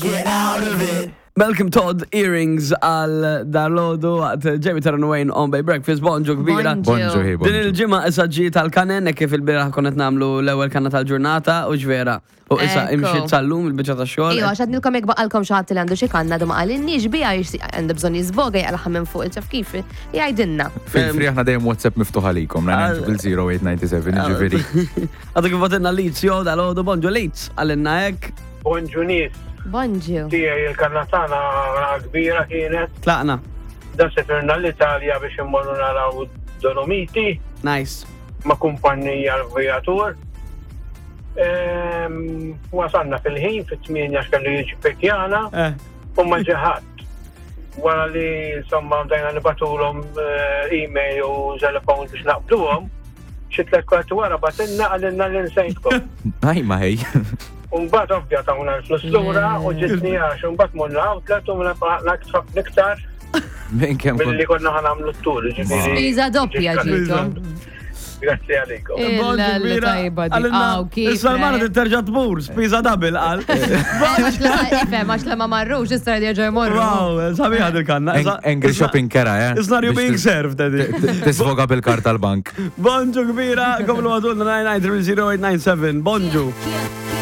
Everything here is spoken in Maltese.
Get out of it. Malcolm Todd earrings għal darlodu waqt Jamie Taron Wayne on Bay Breakfast, bonġu kbira. Bonġu, hi, Din bonġu. il-ġimgħa issa ġi tal-kanen hekk kif il-bieraħ konna qed nagħmlu l-ewwel kanna tal-ġurnata u ġvera. U issa Ekku. imxiet sal-lum il-biċċa tax-xogħol. Iva, għax għadnilkom jekk baqalkom xi ħadd li għandu xi kanna du ma qalinniex biha għandu bżonn jiżboga jaqlaħa minn fuq il-ċaf kif jgħidilna. Fil-free aħna dejjem WhatsApp miftuħ għalikom, 90897, ġifieri. Għadu kif għatinna Leeds, jo dal-għodu bonġu Leeds, għalinna hekk. Bonġu nies. Bonġu. Tiegħi il-kanna tagħna kbira kienet. Tlaqna. Da sefirna l-Italja biex immorru naraw Dolomiti. Nice. Ma' kumpanija l-vijatur. Ehm, wasalna fil-ħin fit-8 x'kellu jiġi pekjana eh. u ma ġeħat. Wara li insomma bdejna nibatulhom eh, email u telefon biex naqbduhom, Xi tlett kwarti wara batilna qalilna li nsejtkom. Aj ma ħej. Umbagħad ovvja tawna l-flus lura u ġitni għax umbagħad morna outlet u naqna ħafna iktar Minn kemm milli konna ħanamlu t-tur. ġifieri. Spiża doppja ġiethom. Grazzi għalikom. Illa li tajba di. Aw, kif. Issa l-mara eh? terġa' tmur, spiża double qal. Għax la, ifhem, għax la ma marrux, issa jerġgħu jmorru. Wow, sabiħa dil-kanna. Angry shopping kera, eh? It's not you Biex being tis- served, Eddie. Tisfoga bil-kart tal-bank. Bonġu kbira, komlu għadulna 9930897. Bonġu.